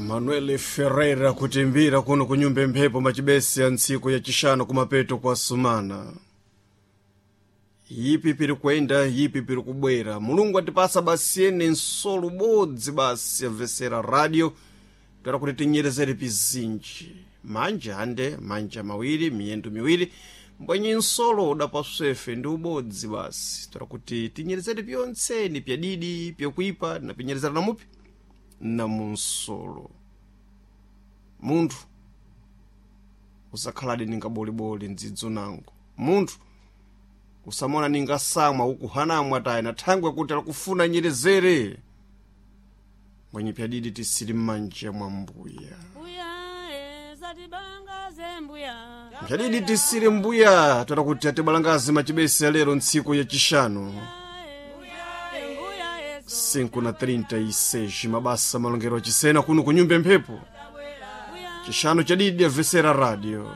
Manuel Ferreira kutimbira kuno kunyumba mphepo machibesi ya ntsiku ya chishanu kumapeto kwa sumana. Yipi piri kuyenda, yipi piri kubwera. Mulungu atipasa basi ene nsolo ubodzi basi amvesera radio toera kuti tinyerezere pizinji manja ande manja mawiri, miyendo miwiri, mbwenye nsolo udapaswefe ndi ubodzi basi toera kuti tinyerezere pyonse pyadidi pyakuipa napinyerezera namupi namunsolo. Munthu usakhaladi ninga boliboli mdzidzo nango. Munthu usamona ninga samwa ukuhanamwa tayi na thangwe kuti alikufuna nyerezere mbwenye pyadidi tisili m'manja mwa mbuya. Mbuya zatibangaze mbuya. Pyadidi tisili mbuya toera kuti atibalangazi machibesi ya lero ntsiku yachishanu Mbuya 5:36 mabasa malongero achisena kuno kunyumba mphepo chishanu chadidi amvesera radio.